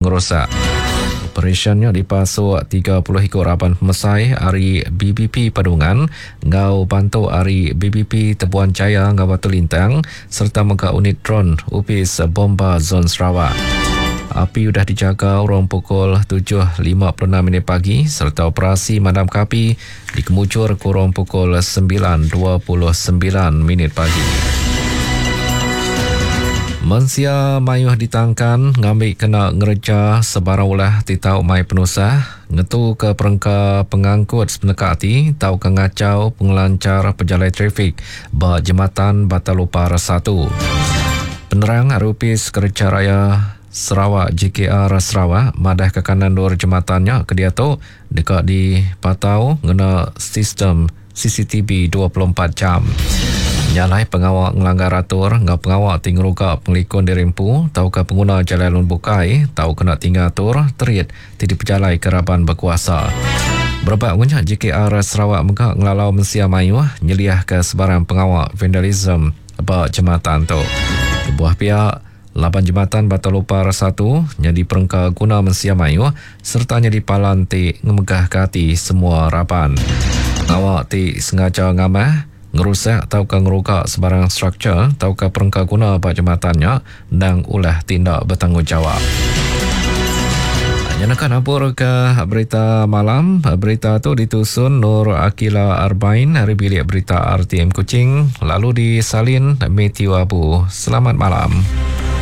pengerusak. Operasyen nya dipasuk 30 iku raban pemesai ari BBP Padungan enggau bantu ari BBP Tebuan Jaya enggau Batu Lintang sereta mega unit dron Opis Bomba Zon Sarawak. Api udah dijaga urung pukul 7.56 minit pagi sereta operasi madamka api dikemujur ke urung pukul 9.29 minit pagi. Mensia mayuh ditangkan ngambi kena ngereja sebarang ulah ti tau mai penusah, ngetuka perengka pengangkut sepeneka ati tauka ngachau pengelanchar pejalai trafik ba Jematan Batang Lupar satu. Penerang ari Opis Kereja Raya Sarawak, JKR Sarawak, madahka kanan endur jematan nya ke diatu deka dipatau ngena sistem CCTV 24 jam. Nya alai pengawa ngelanggar atur enggau pengawa ti ngeruga pengelikun diri empu tauka penguna jalai alun bukai tau kena tinggal atur terit ti dipejalaika raban bekuasa. Berebak enggau nya, JKR Sarawak mega ngelalau mensia mayuh nyeliahka sebarang pengawa vandalisme ba jematan tu. Kebuah pia, laban jematan Batu Lupar satu nyadi perengka guna mensia mayuh sereta nyadi palan ti ngemegahka ati semua raban. Pengawa ti sengaja ngamah, ngerusak tauka ngeruga sebarang struktur tauka perengka guna ba jematan nya endang ulah ti enda betanggungjawap. Nya naka nabur ke berita malam. Berita tu ditusun Nur Akila Arbain ari bilik berita RTM Kuching lalu disalin Matthew Abu. Selamat malam.